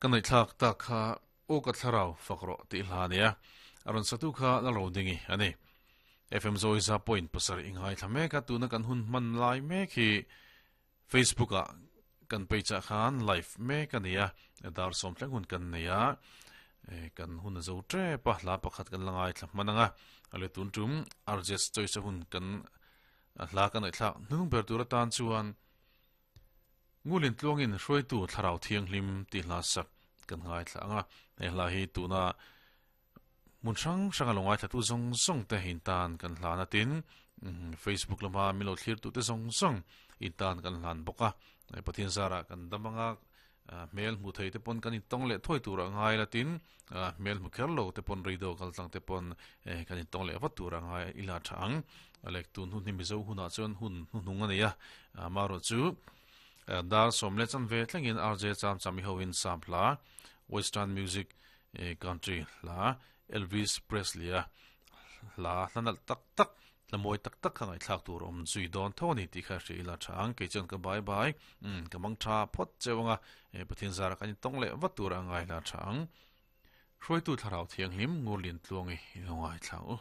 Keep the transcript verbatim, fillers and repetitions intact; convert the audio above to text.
Kan nei thlak tak kha aw ka thlarau fak rawh tih hla ania a rawn satu kha la ro dingi ani F M Zoe za point pasarih i ngaithla mek a tuna kan hun hman lai mek hi Facebook ah kan page ah khan live mek ania dar sawm thleng hun kan nei a kan hun a zo tep a hla pakhat kan la ngaithla hman anga ale tun tum R J S choice hun kan hla kan nei thlak hnung ber tur atan chuan ngulin tluangin hruaitu thlarau thianghlim tih hla sak kan ngaithla anga he hla hi tuna mun hrang hrang a lo ngaithla tu zawng zawng te in tan kan hlan atin Facebook lama milo thlir tu te zawng zawng in tan kan hlan bawk a Pathian zara kan damanga hmel hmu thei te pawn kan intawng leh thawi tur a ngai latin hmel hmu kher lo te pawn radio kal tlang te pawn kan intawng leh vat tur a ngai ila tha ang alek tun hun hi mizo hunah chuan hun hnuhnung a nei a amarawh chu dar sawm leh chan ve thlengin R J Cham Chami hoin sam hla western music country hla Elvis Presley a hla hlanalh tak tak hla mawi tak tak kha ngaihthlak tur awm zui dawn tho ani tih kha hria ila tha ang kei chuan ka bye bye ka mang tha phawt cheu anga Pathian zara kan intawng leh vat tur a ngai la tha ang hruaitu thlarau thianghlim Ngurlian Tluangi i lo ngaithla u.